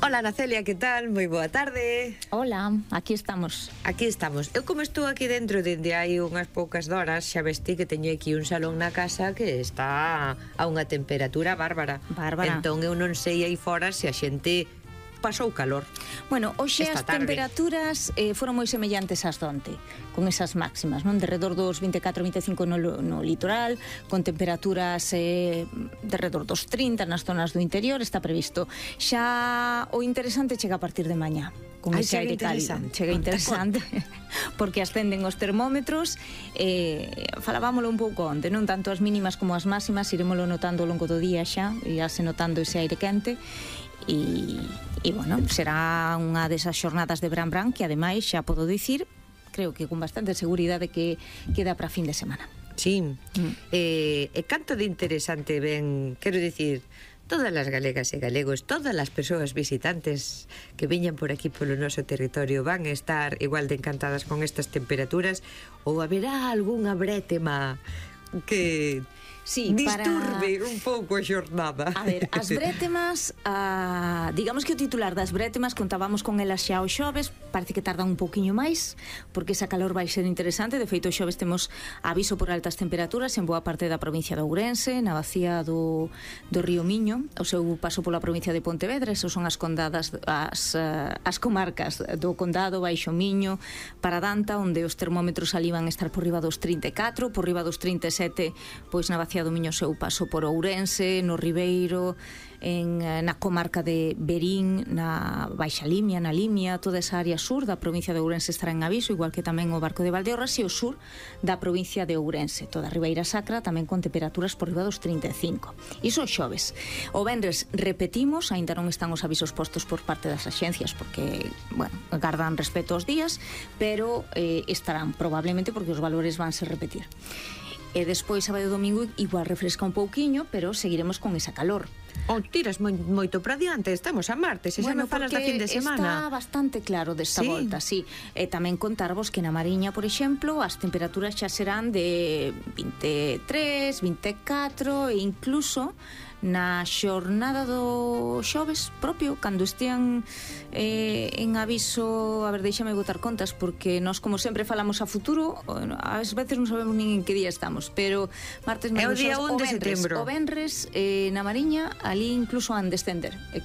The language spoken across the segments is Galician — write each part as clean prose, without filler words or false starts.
Hola, Ana Celia, que tal? Moi boa tarde. Hola, aquí estamos. Aquí estamos. Eu como estou aquí dentro dende hai unhas poucas horas, xa vesti que teño aquí un salón na casa que está a unha temperatura bárbara. Entón eu non sei aí fora se a xente pasou calor. Bueno, hoxe as temperaturas foron moi semellantes ás donte, con esas máximas, non? De redor dos 24-25 no litoral, con temperaturas de redor dos 30 nas zonas do interior, está previsto. Xa o interesante chega a partir de mañá, con ese aire cálido. Chega interesante, porque ascenden os termómetros. Falábamolo un pouco onte, non tanto as mínimas como as máximas, iremoslo notando ao longo do día xa, irase notando ese aire quente. E bueno, será unha desas xornadas de Bran que ademais xa podo dicir, creo que con bastante seguridade que queda para fin de semana. Sí, e canto de interesante ven, quero dicir, todas as galegas e galegos, todas as persoas visitantes que viñan por aquí polo noso territorio van a estar igual de encantadas con estas temperaturas, ou haberá algunha brétema que disturbe un pouco a xornada. A ver, as brétemas, digamos que o titular das brétemas, contábamos con elas xa o xoves, parece que tardan un pouquiño máis, porque esa calor vai ser interesante. De feito, o xoves temos aviso por altas temperaturas en boa parte da provincia de Ourense, na bacía do río Miño, o seu paso pola provincia de Pontevedra. Esos son as condadas, as comarcas do condado, Baixo Miño, Paradanta, onde os termómetros ali van a estar por riba dos 34, por riba dos 37, pois na bacía do Miño seu paso por Ourense, no Ribeiro, na comarca de Verín, na Baixa Limia, na Limia, toda esa área sur da provincia de Ourense estará en aviso, igual que tamén o Barco de Valdeorras, e o sur da provincia de Ourense, toda a Ribeira Sacra, tamén con temperaturas por riba dos 35. Iso xoves. O venres repetimos, aínda non están os avisos postos por parte das axencias, porque, bueno, gardan respeto aos días, pero estarán probablemente porque os valores vanse repetir. E despois, sábado e domingo, igual refresca un pouquiño, pero seguiremos con esa calor. Tiras moito para diante, estamos a martes, e xa me falas da fin de semana. Está bastante claro desta volta, sí. E tamén contarvos que na Mariña, por exemplo, as temperaturas xa serán de 23, 24 e incluso na xornada do xoves propio, cando estean en aviso, a ver, deixame botar contas, porque nós como sempre falamos a futuro, ás veces non sabemos nin en que día estamos, pero martes, é o día 1 de setembro. O venres na Mariña, ali incluso han descender, e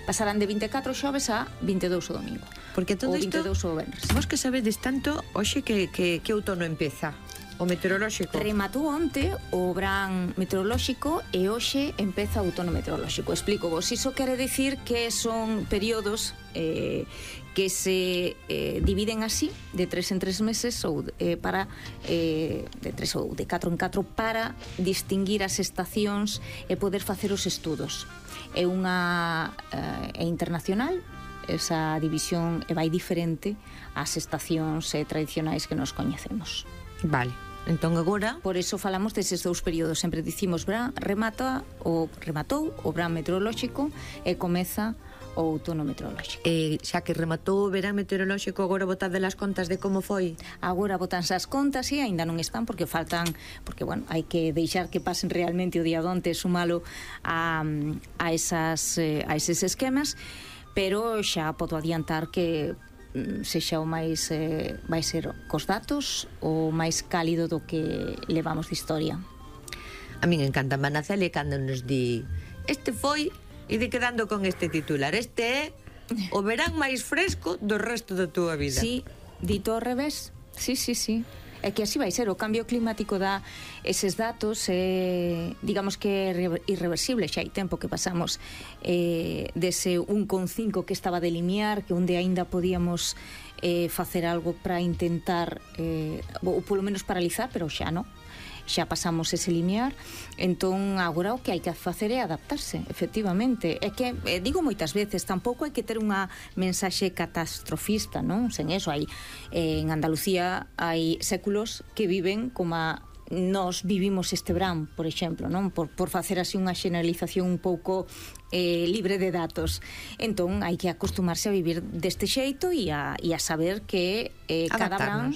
pasarán de 24 xoves a 22 o domingo, porque todo o isto, 22 o venres. Vos que sabedes tanto, hoxe que outono empeza o meteorolóxico. Rematou onte o verán meteorolóxico e hoxe empeza o outono meteorolóxico. Explico vos, iso quere dicir que son períodos que se dividen así, de 3 en 3 meses, ou de 3 ou de 4 en 4, para distinguir as estacións e poder facer os estudos. É internacional esa división, e vai diferente ás estacións tradicionais que nos coñecemos. Vale. Entón agora, por eso falamos deses dous períodos. Sempre dicimos rematou o verán meteorolóxico e comeza o outono meteorolóxico. Xa que rematou o verán meteorolóxico, agora botade as contas de como foi? Agora botanse as contas e aínda non están porque faltan, porque bueno, hai que deixar que pasen realmente o día donte, sumalo a eses esquemas, pero xa podo adiantar que sexa o máis vai ser cos datos o máis cálido do que levamos de historia. A min encanta Ana Celia cando nos di este foi, e de quedando con este titular, este é o verán máis fresco do resto da túa vida. Sí, dito ao revés. Sí. É que así vai ser, o cambio climático dá eses datos, digamos que é irreversible, xa hai tempo que pasamos dese 1,5 que estaba de limiar, que onde aínda podíamos facer algo para intentar, ou polo menos paralizar, pero xa non. Xa pasamos ese limiar, entón agora o que hai que facer é adaptarse, efectivamente. É que, digo moitas veces, tampouco hai que ter unha mensaxe catastrofista, non? Sen eso, en Andalucía hai séculos que viven como nós vivimos este verán, por exemplo, non? Por facer así unha xeneralización un pouco libre de datos. Entón hai que acostumarse a vivir deste xeito e a saber que cada verán